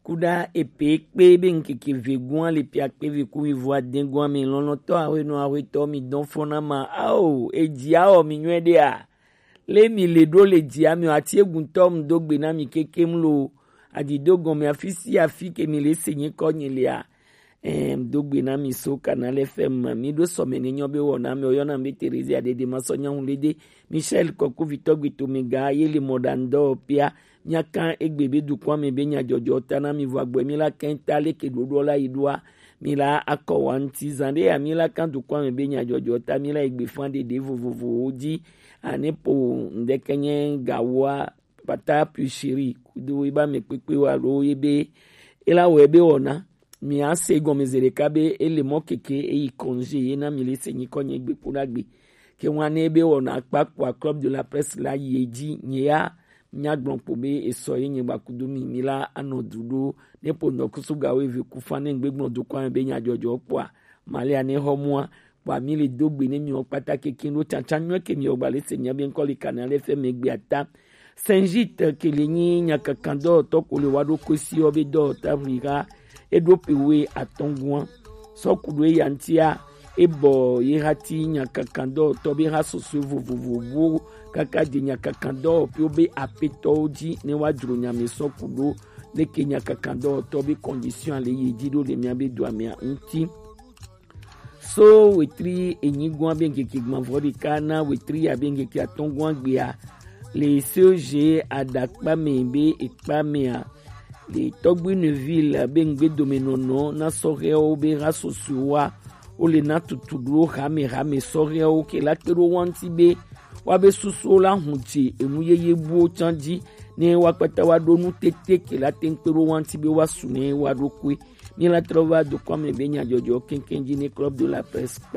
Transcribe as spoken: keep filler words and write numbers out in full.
Kuda epe kpe be ŋkeke vegun le pia kpe ve ku mi vo aden gun mi lɔlɔtɔ ahwenɔ ahwetɔ mi dɔn fɔna ma ao eji ao mi nyuɛ de a. Le mi le ɖo le ji ami o ati egun tɔ mu do gbe na mi keke mu lo. Adi do gɔn mi afi si afi ke mi le se nyi kɔ nyi le a. Em, do gbe na mi so Canal F M ma. Mi ɖo sɔmɛ ne nyɔ be wɔ na mi o yɔ na mi be Theresia Dede ma sɔ nyahu le de. Michel Kɔku vitɔ gbe to mi ga ye le mɔ ɖa ŋdɔ pia. Miakan egbe be dukɔa me be nyadzɔdzɔ ta na mi vɔ agbɔe mi la kɛn ta leke ɖoɖo la yi ɖoa. Mi la akɔ wa ŋti zan ɖe ya mi la kan dukɔa me be nyadzɔdzɔ ta mi la egbe fan ɖeɖe vovovowo dzi. Ane po ŋdɛkɛ nye gawoa pata puis chéri kudo eba me kpekpe wa ɖo ye be ela wɔ ebe wɔna. Mi ase gɔmeze ɖeka be ele mɔ keke eyi congé ye na mi le se nyi kɔ nye gbe kpo ɖagbe. Ke ŋua ne be wɔna akpa kpoa Club de la Presse la yi edzi nye ya. Míagblɔ kpo be esɔ ye nye gbakudo mi mi la anɔ du ɖo ne ƒo ŋdɔkusu ga wo eve ku fa ne ŋgbe gblɔ dukɔa me be nyadzɔdzɔ kpoa malia ne xɔ mua kpoa mi le do gbe ne miwo kpata keke ɖo tsatsa nyuie ke miwo gba le se mia be ŋkɔ le Canal F M gbe ata. Saint Gite ke le nyi nyakakandɔwɔtɔ ko le wa ɖo kosi wo be dɔwɔta ʋli ha eɖo pe we atɔngua sɔ ku ɖo eya ŋtia ebɔ ye hati nyakakandɔwɔtɔ be ha sɔsɔe vovovo buwo kaka de nyakakandɔwɔƒewo be apetɔwo dzi ne wa dzro nya me sɔ ku ɖo leke nyakakandɔwɔtɔ be condition le ye dzi ɖo le mia be dua mea ŋti. So wetri enyi gua be ŋkeke gbɔnvɔ ɖeka na wetri ya be ŋkeke atɔngua gbea le C E G aɖakpa me be ekpa mea le Tɔgbuineville be ŋgbedomenɔnɔ na sɔhɛwo be ha sɔsɔewoa wo le na tutu ɖo hame hame sɔhɛwo ke la kpe ɖo wa ŋti be wa be susuwo la hu dze enu yeye buwo tsan dzi ne wa kpata wa ɖo nu tete ke la te ŋkpe ɖo wa ŋti be wa su ne wa ɖo koe. Mi la trɔ va dukɔa me be nyadzɔdzɔ keŋkeŋ dzi ne Club de la Presse kpa